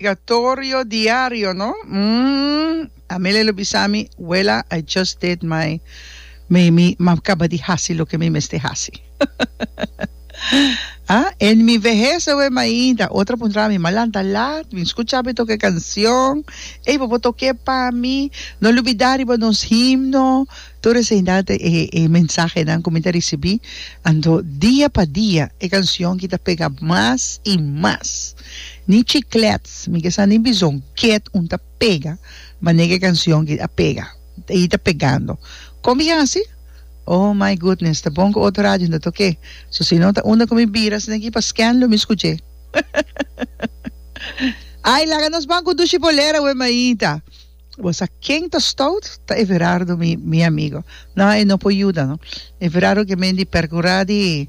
Obligatorio diario no? Umm Amelia lo bisa mi, Wela I just did my mi mi m'a caba di haci loke mi mester haci. Ah, en mi vehez awe mainta otro a puntra mi, m'a lanta laat, mi scucha mi toca e cancion, ey bo por toque pa mi, no lubida riba nos himno, tur eseinan ta e e mensahenan cu mi ta ricibi, anto dia pa dia e cancion aki ta pega mas y mas. Ni chiclets, mi ke sa ni bizon ket un ta pega manera e cancion ki a pega y ta pegando. Con mi haci? Oh my goodness, ta bon cu otro radio no ta toke. So si no ta unda cu mi bira asina aki pa scan lo mi scuche. Ay laga nos ban cu dushi bolera we mainta. Bo sa ken ta stout? Ta Everardo mi mi amigo. No, e no por yuda no. Everardo ke men di percura di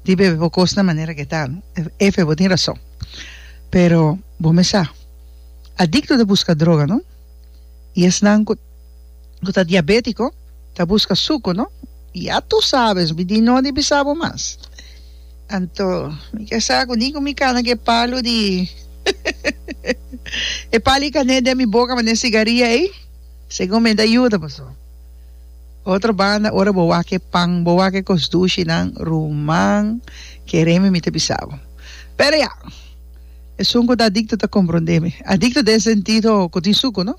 di bebe bo cos na manera ke ta no. Efe bo tin rason. Pero bo mes sa, adicto ta busca droga no. Y esnan cu cu ta diabetico ta busca suco no. Ya tu sabes, mi di no di bisa bo mas. Anto mi ke sa ku ni ku mi kana ku e palu di e palu i kané den mi boka manera sigaria ei, segun mi ta yuda paso. Otro banda ora bo wak e pan, bo wak e kos dushinan, ruman, kere mi mi ta bisa bo. Pero ya, esun ku ta adikto ta komprondé mi. Adikto den sentido ku tin suku no.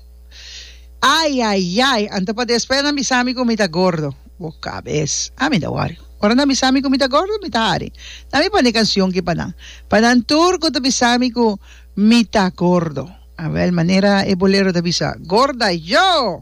Ai ai ai, anto pa despues nan bisa mi ku mi ta gordo. Bo kabes, ami ta wòri. Ora nan bisa mi ku mi ta gordo, mi ta hari. Nan mi pone kanshon ki pa nan. Pa nan tur ku ta bisa mi ku mi ta gordo. Awel, manera e bolero ta bisa, Gorda yo!